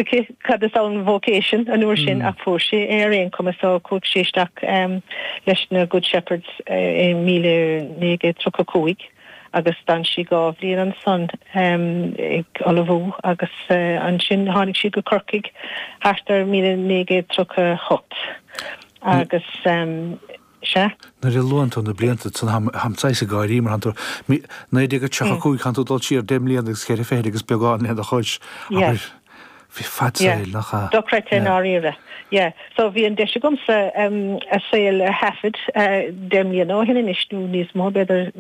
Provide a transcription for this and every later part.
aici cad is ann vocation an uair sin ach fuair sí é ar aon chuma so chuaigh sí isteach leis na Good Shepherds i 1935 agus d'fhan sí 2 bhliain ansan ag ullmhú agus ansin tháinig sí go Corcaigh thart ar 1938 agus sea. Nuair a luann tú na blianta san táim saghas ag gáirí mar tánn tú, 1935 tánn tú ag dul siar 10 mbliana agus cheithre fichid agus beagán lena chois. Abair, bhí fad saoil, nach ea? Dochreidte i ndáiríre. Yeah. So bhí an deis agamsa a saol a thaifead 10 mbliana ó shin anois, nó níos mó b'fhéidir,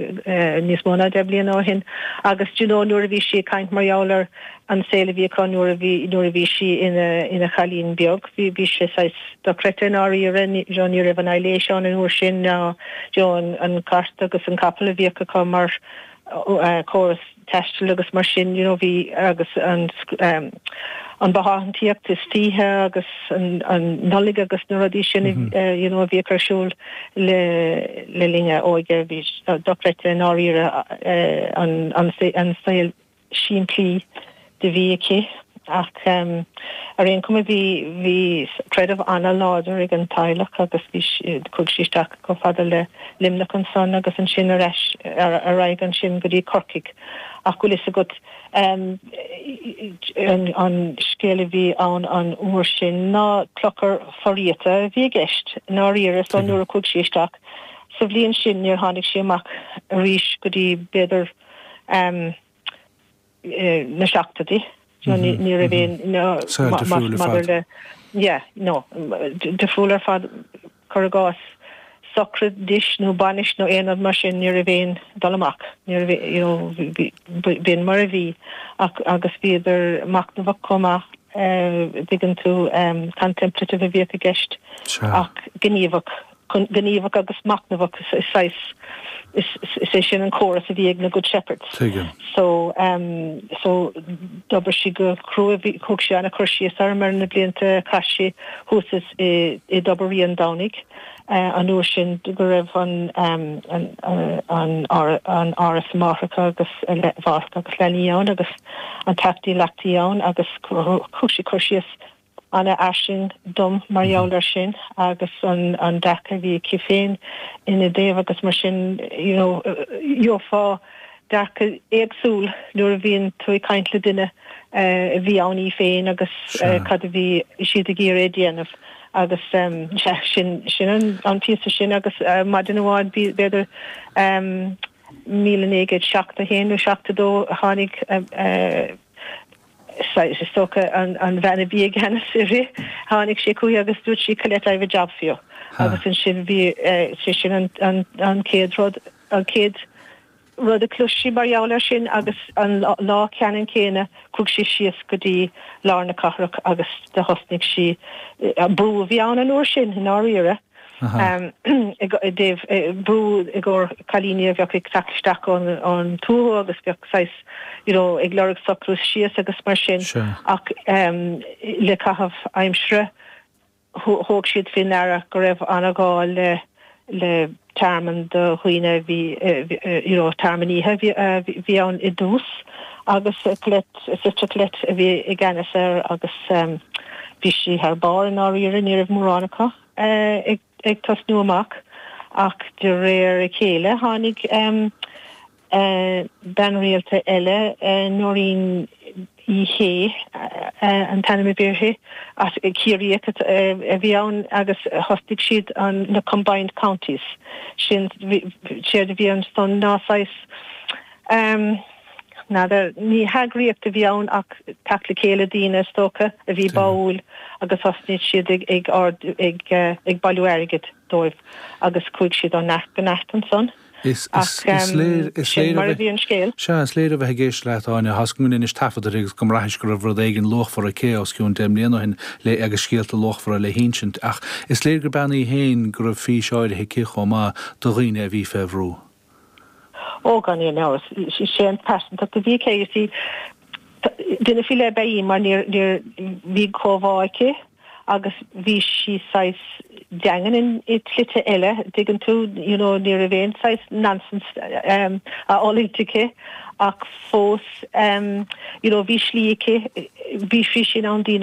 níos mó ná 10 mbliana ó shin agus do you know nuair a bhí sí ag caint mar gheall ar an saol a bhí acu nuair a bhí, nuair a bhí sí ina, ina chailín beag, bhí, bhí sé saghas dochreidte i ndáiríre, ní, you know, ní raibh an aibhléis ann an uair sin ná, you know, an, an cairt agus an capall a bhíodh acu mar córas taistil agus mar sin, you know, bhí, agus an, an bothántaíocht istoíche agus an, an Nollaig agus na rudaí sin, you know, a bhíodh ar siúl le, le linn a óige, bhí dochreidte i ndáiríre an, an, an saol simplí do bhí aici ach ar aon chuma bhí bhí creideamh ana-láidir ag an teaghlach agus bhí chuaigh sí isteach chomh fada le Luimneach ansan agus ansin ar ais ar aghaidh ansin go dtí Corcaigh ach bhfuil fhios agat an an scéal a bhí ann an uair sin ná clochar fo-riata a bhí i gceist i ndáiríre so nuair a chuaigh sí isteach sa bhliain sin níor tháinig sí amach arís go dtí b'fhéidir na seachtóidí. Ní raibh aon Saol difriúil ar fad. le yeah, no, difriúil ar fad cuir i gcás sochraid nó bainis nó aon rud mar sin ní raibh aon dul amach. Ní raibh you know b'in mar a bhí ach agus bhíodar machnamhach chomh maith dtuigeann tú contemplative a bhíodh i gceist ach gníomhach. Gníomhach agus machnamhach is saghas, is é sin an córas a bhí ag na Good Shepherds. Tuigim. So, so d'obair sí go crua, bhí, thug sí an-chur síos orm ar na blianta a chaith sí thuas is i, i dTobar Rí an Domhnaigh an uair sin go raibh an, an, an, an áras máithreacha agus, mháithreacha agus leanaí ann agus an teach dílleachtaí ann agus thug sí cur síos ana-fhairsing dom mar gheall air sin agus an an dearcadh a bhí aici féin ina dtaobh agus mar sin you know gheofá dearcadh éagsúil nuair a bhíonn tú ag caint le duine a bhí ann í féin agus cad a bhí siad ag iarraidh a dhéanamh agus sea sin sin an an píosa sin agus maidin amháin b'fhéidir 1971 nó 72 tháinig Is dócha an bhean a bhí i gceannas uirthi, tháinig sí chuici agus dúirt sí Colette, I've a job for you. Agus ansin bhí sé sin an chéad rud, an chéad rud a chlois sí mar gheall air sin agus an lá ceannann céanna chuaigh sí síos go dtí lár na cathrach agus do thosnaigh sí, brú a bhí ann an uair sin i ndáiríre. i dtaobh brú i gcomhair cailíní a bheadh ag teacht isteach ón tuath agus bheadh saghas you know ag lorg socrú síos agus mar sin ach le caitheamh aimsire thóg siad faoi ndeara go raibh an-ghá le le tearmann do dhaoine a bhí you know tearmann oíche a bhí ann i dtús agus Colette, Sister Colette a bhí i gceannas air agus bhí sí thar barr i ndáiríre, ní raibh mórán acu. ag tosnú amach ach de réir a chéile tháinig bean rialta eile, Nóirín Uí Shé an t-ainm a bhí uirthi, as Ciarraíoch a bhí ann agus thosnaigh siad an na combined counties sin, séard a bhí ansan ná saghas. N'fheadar, ní heagraíocht a bhí ann ach teacht le chéile daoine, is dócha, a bhí báúil agus thosnaigh siad ag ag ag bailiú airgid dóibh agus chuaigh siad ó neart go neart ansan. Is léir Ach sin mar a bhí an scéal. Sea, is léir ó bheith ag éisteacht leat, Áine, tá 's agam go ndeinis taifead uirthi agus go mbraithis go raibh rud éigin luachmhar aici os cionn 10 mbliana ó shin le agus scéalta luachmhara le hinsint ach is léir gur bean í féin go raibh fís áirithe aici chomh maith do dhaoine a bhí fé bhrú. Ó, gan aon amhras. Is é an pearsantacht a bhí aici, you see, duine faoi leith ab ea í mar níor, níor, bhí comhbhá aici agus bhí sí saghas daingean in, i tslite eile, dtuigeann tú, you know, ní raibh aon saghas nonsense á fhulaingt aici ach fós, you know, bhí slí aici, bhí sí in ann daoine.